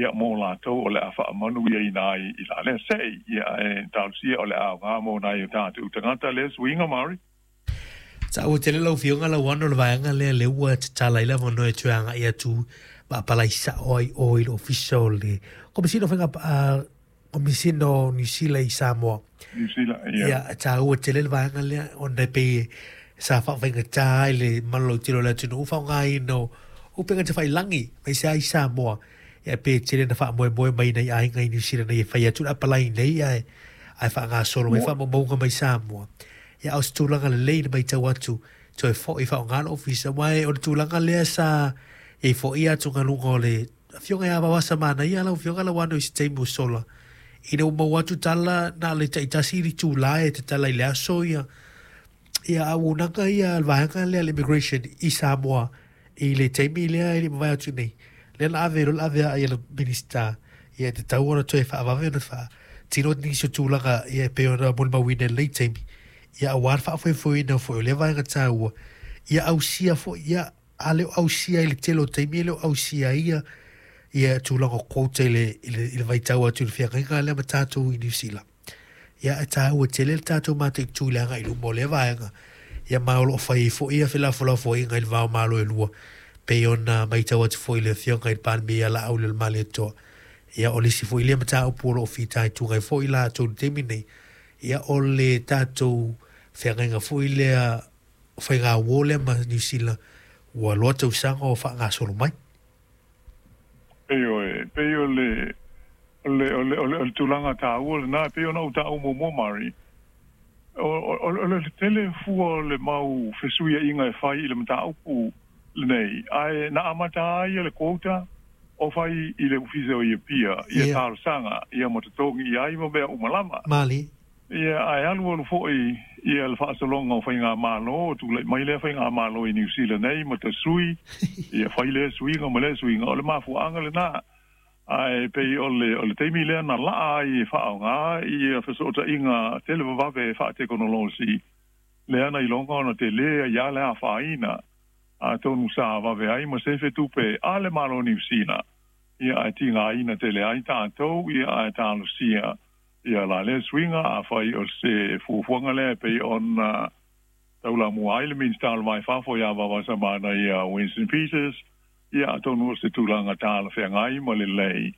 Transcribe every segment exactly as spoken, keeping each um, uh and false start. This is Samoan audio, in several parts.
Ia mo latou o le a faamanuiaina ai i la lea se'i. Ia e talosia o le a aoga mo nai o tatou tagata lea suiga Maori. Taua tele lau Afioga Lauano le vaega lea lea ua tatala ai le avanoa e toe agai atu ma apalai sao ai o i le ofisa o le Komesina o Faiga uh, Komesina o Niu Sila i Samoa. Niu Sila, ia. Ia, taua tele le vaega lea ona e pei sa faafaigata ai le malolautele o le atunuu faaaogaina o upega tafailagi mai se ai Samoa. Ia pe tele na faamoemoe mai nai aiga i Niu Sila nei e fai atu le apalai nei ae ae faagasolo mai faamaumauga mai Samoa. Ia o se tulaga lelei le matau atu toe fo'i faaaoga le ofisa aua o le tulaga lea sa iai fo'i atugaluga o le afioga ia Vavasa Manaia lau Afioga Lauano i se taimi ua sola ina ua maua atu tala na o le taitasi le itulā e tatala i le aso ia ia auaunaga ia a le vaega lea le immigration i Samoa i le taimi lea e le i mavae atu nei lea na ave loa le ave a ia le Minisita ia e tatau ona toe faavave ona faatino nisi o tulaga ia e pei ona molimauina i lenei taimi ia aua le faafoefoeina foi o lea vaega taua ia ausia foi ia a le o ausia i le tele o taimi e le o ausia ai ia ia tulaga o quota i le, i le, i le vaitau atu i le feagaiga lea ma tatou i Niu Sila. Ia e taua tele le tatou mataitu i le agai i luma o lea vaega. Ia ma o lo o fai ai foi ia felafolafoaiga i le va o Malo e lua pei ona matau atu foi i le Afioga i le Palemia ia Laaulialemalietoa. Ia o le isi foi lea mataupu o lo o fitaituga ai foi latou i le taimi nei, ia o le tatou feagaiga foi lea faigauo lea ma Niu Sila ua loa tausaga o faagasolo mai. Ioe, pei o le o le o le o le, o le tulaga taua lena pei ona ou taua muamua Mari. O, o, o le tele fua o le mau fesuiaiga e fai i le mataupu lenei, ae na amata ai le quota o fai i le ofisa o Apia ia Ia. talosaga ia ma totogi i ai ma mea uma lava. Mali. Ia ae alu alu fo'i ia le faasologa o faigamalo tula'i mai lea faigamalo i Niu Sila nei ma tasui ia fai lea suiga ma lea suiga o le mafuaaga lenā ae pei o le o le taimi lea na la'a ai e faaaogā ia fesootaiga televavave faatekonolosi lea na iloga ona telē ai a le afaina atonu sa vave ai ma sefe tupe a le Malo Niu Sila ia ae tigaina tele ai tatou ia ae talosia ia la lea suiga afai o se fuafuaga lea pei ona taulamua ai le Minisita o le Va i Fafo iā Vavasamana ia Winston Peters ia atonu o se tulaga talafeagai ma lelei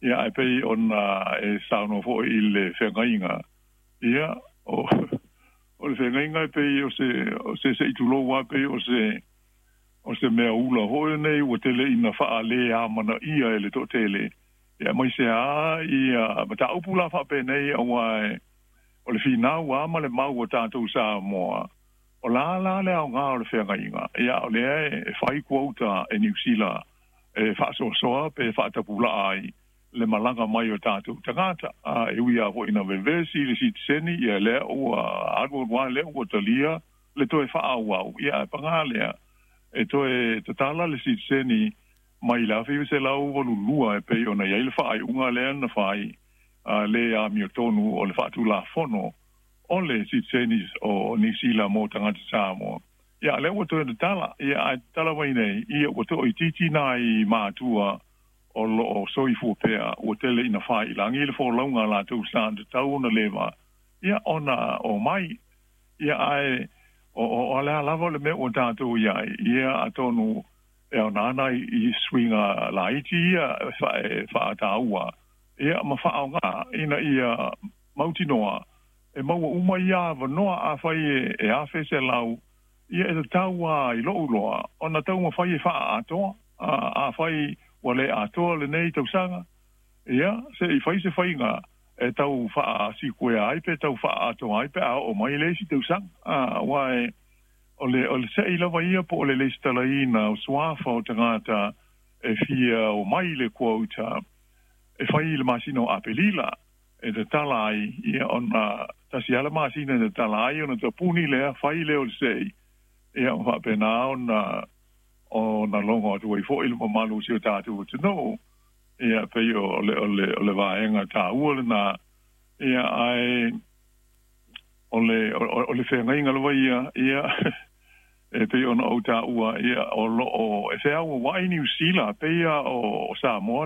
ia ae pei ona e saunoa fo'i i le feagaiga ia o o le feagaiga e pei o se o se se'i tulou a pei o se o se mea ula foi lenei ua tele ina faalē amanaia e le toatele ia aemaise a ia mataupu la faapenei auā e o le finau a ma le mau a tatou Samoa o la la le aogā o le feagaiga ia o lea e fai quota e Niu Sila e faasoasoa pe faatapulaa ai le malaga mai o tatou tagata a e ui lava foi ina vevesi le sitiseni ia lea ua alu alu lava lea ua talia le toe faaauau ia ae pagā lea e toe tatala le sitiseni mai le afe iva selau valu lua e pei ona i ai le faaiuga lea na fai a le amiotonu o le faatulafono o le sitiseni o Niu Sila mo tagata Samoa ia lea ua toe tatala ia ae tatala mai nei ia ua toaitiiti nai matua o loo soifua pea ua tele ina faailagi le folauga a latou sa tatau ona leva ia ona omai ia ae o o o le a lava le mea ua tatou i ai ia atonu e aoga ana i suiga laiti ia e faataua ia ma faaaogā ina ia mautinoa e maua uma ia avanoa afai e afe selau ia e tatau a i lo'u iloa ona taumafai e faaatoa afai ua le atoa lenei tausaga ia se'i fai se faiga e tau faasikuea ai pe tau faaatoa ai pe a oo mai le isi tausaga auā e o le o le se'i lava ia po o le lesitalaina o suafa o tagata e fia omai i le quota e fai i le masina o Apelila e tatala ai ia ona tasi lava le masina e tatala ai ona tapuni lea fai lea o le se'i ia ma faapena ona ona logo atu ai fo'i le mamalu o si o tatou atunuu ia pei o le o le o le vaega taua lenā ia ae o le o le feagaiga lava ia ia e pei ona ou taua ia o loo e feauauai Niu Sila pei a o Samoa.